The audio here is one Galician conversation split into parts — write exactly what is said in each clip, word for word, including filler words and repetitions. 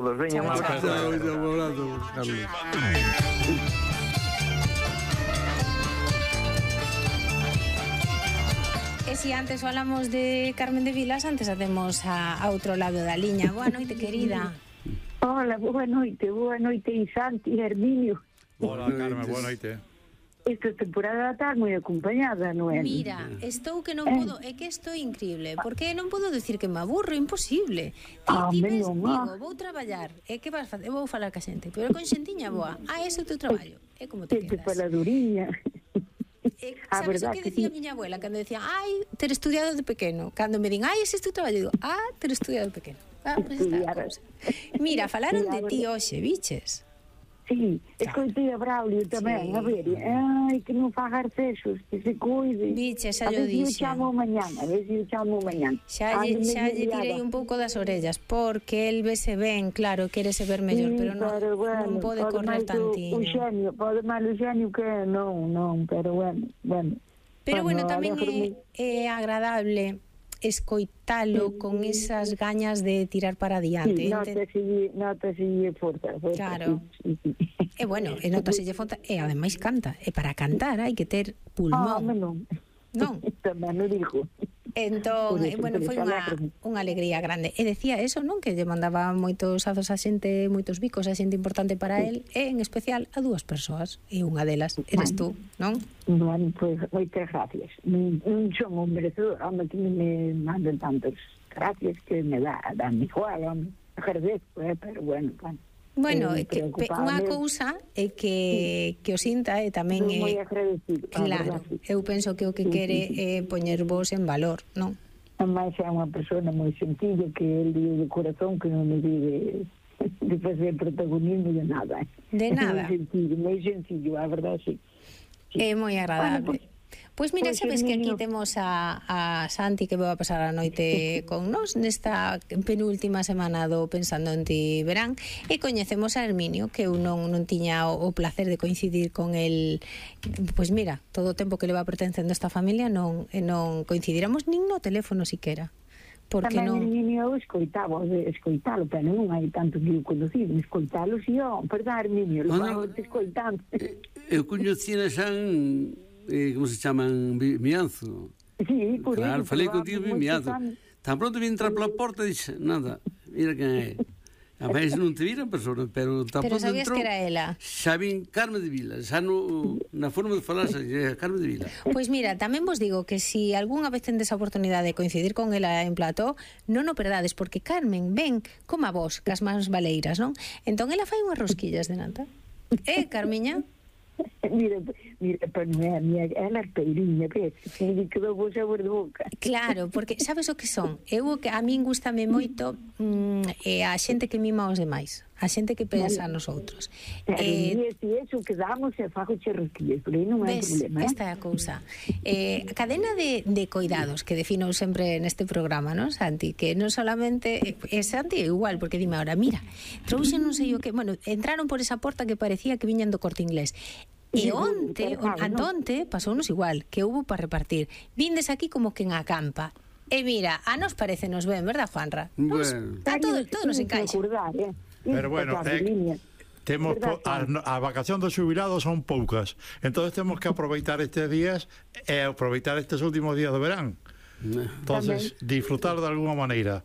Veña, un abrazo. Un abrazo, Carlos. E si antes falamos de Carmen de Vilas, antes hacemos a, a outro lado da liña. Boa noite, querida. Hola, boa noite, boa noite, Santi, Herminio. Hola, Carmen, boa noite. Esta temporada está moi acompañada, non é? Mira, estou que non podo, é que estou increíble, porque non podo decir que me aburro, imposible. Ti, Ah, ti ves, menos digo, mal. vou traballar, e que vas facer? Vou falar ca xente, pero con xentiña boa. Ah, ese é o teu traballo. É como te Este quedas. faladuría. Eh, A sabes o verdad que que decía sí. miña abuela cando decía, ai, ter estudiado de pequeno? Cando me din, ai, ese é o teu traballo, digo, ah, ter estudiado de pequeno. Ah, pues está a cousa. Mira, falaron de ti hoxe, biches. Sí, escoitei a Braulio tamén, Sí. a ver, ai, que non faga arcexos, que se cuide. Biche, xa A llo ver si o dixen. chamo mañán, a ver si o chamo mañán. Xa lle, Ando xa medio lle tirei liada. un pouco das orellas, porque el vese ben, claro, quere se ver mellor, Sí, pero non, pero bueno, non pode correr máis o- tantiño. O xenio, pode mal o xenio que non, non, pero bueno, bueno. Pero bueno, tamén alégrome. é, é agradable escoitalo con esas gañas de tirar para Sí, adiante. Ente- notase, notase forza, forza. Claro. Sí, sí, sí. E bueno, e notaselle fonta, e ademais canta, e para cantar hai que ter Ah, pulmón. non. Non. Tamén o dijo. Entón, Por eh, eso, bueno, pero foi xa unha, alégrome. unha alegría grande. E decía eso, non? Que lle mandaba moitos azos a xente, moitos bicos a xente importante para él, e en especial a dúas persoas. E unha delas eres tú, non? Bueno, pues moitas gracias. Non, non son un merecedor, home, que me mandan tantas gracias que me dá, dá mi igual, home. Agradezco, eh, pero bueno, bueno. Bueno, Eh, é que pe- preocupame. unha cousa é que, que o sinta e tamén Estou moi é... agradecido. a Claro, verdade, sí. eu penso que o que Sí, quere sí, sí. é poñer vos en valor, non? Ademais é unha persona moi sencilla que el dio de corazón que non me di de, de facer protagonismo de nada. eh. De nada. Moi sencillo, moi sencillo, a verdade, sí. Sí. É moi agradable. Bueno, Pois mira, pois, sabes que aquí Herminio. temos a, a Santi que vai a pasar a noite con nos nesta penúltima semana do Pensando en Ti verán, e coñecemos a Herminio, que eu non, non tiña o, o placer de coincidir con el. Pois mira, todo o tempo que le va pertencendo a esta familia non, e non coincidiramos nin no teléfono siquera. Porque Tamén non... el niño escoitaba, escoitalo, pero non hai tanto que o conocido, escoitalo, si, ó, verdad, Herminio, lo Bueno, vamos escoitando. Eu coñecina xa en, eh, como se chaman, Vi- Mianzo. Sí, por Claro, eso, falei pero contigo vamos en Mianzo. escoitando. Tan pronto vi entrar pola porta e dixe, nada, mira quen é. A veces non te vira a persona, pero tan Pero pronto sabías entrou, que era ela. xa vin Carmen de Vila, xa no, na forma de falar xa é Carmen de Vila. Pois mira, tamén vos digo que si algunha vez tendes a oportunidade de coincidir con ela en plató, non o perdades, porque Carmen ven como a vos, cas mans baleiras, non? Entón ela fai unhas rosquillas de nata. Eh, Carmiña? Mira, mira, pero non é a mía, ela é peiriña, ves, que me quedou bo sabor de boca. Claro, porque sabes o que son? Eu o que a min gustame moito mm, é a xente que mima aos demais, a xente que pensa nos outros. Pero Eh, eh, si eso quedamos e fago che rosquillas, por aí non hai Ves, problema, eh? esta é a cousa. Eh, a cadena de, de coidados que defino sempre neste programa, non, Santi? Que non solamente... É Santi é igual, porque dime ahora, mira, trouxen non sei o que... Bueno, entraron por esa porta que parecía que viñan do Corte Inglés. E onte, antonte, pasounos igual, que hubo para repartir. Vindes aquí como que en acampa. E mira, a nos parece nos ben, verdad, Juanra? Nos, Bueno. a todo, todo nos encaixa. Acordar, eh? Pero bueno, eh, temos Verdad, po, a, a vacación dos xubilados son poucas. Entonces temos que aproveitar estes días e aproveitar estes últimos días de verán. Entonces, disfrutar de alguna maneira.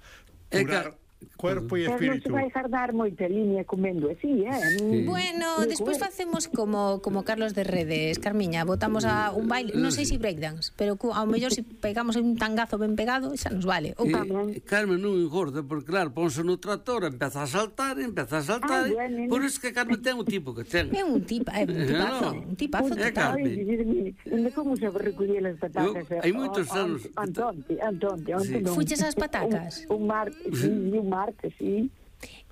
É Curar cuerpo e Pero non se espírito. vai guardar moita línea comendo así, eh? Sí. Bueno, despois facemos como como Carlos de Redes, Carmiña, botamos a un baile, non sei se breakdance, pero cu, ao mellor se pegamos un tangazo ben pegado, xa nos vale. Ou E, Carmen non engorda, porque claro, ponse no tractor, empeza a saltar, empeza a saltar, Ah, bueno. por iso que Carmen ten o tipo que ten. é un tipo, é un tipazo, No. un tipazo É total. Carmen. Onde como se recoller as patacas? Eu- hai moitos O- o- anos. Antonte, Antonte, onte Sí. non. Fuches ás patacas? Un, un martes, sí, un martes, sí.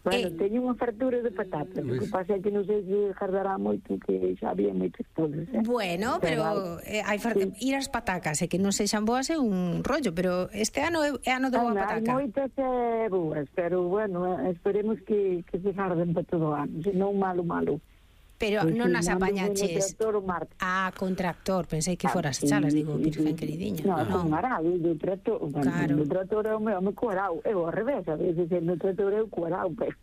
Bueno, Eh. teño unha fartura de patatas. O que pasa é que non sei se jardará moito, que xa había moitas cousas, eh? Bueno, pero eh, hai far... ir ás patacas e que non sexan boas é un rollo, pero este ano é, é ano de boa Hai pataca. moitas eh, boas, pero bueno, eh, esperemos que, que se jarden para todo o ano, senón malo, malo. Pero Pois non sí, as mando apañaches. un tractor o martes. Ah, con tractor, pensei que foras Sí, chalas, digo, sí, virgen sí. queridiña. No, Non. con arado, do trator, bueno, Claro. do trator é o meu, me cuarao, é ao revés, a veces no trator é o cuarao, pero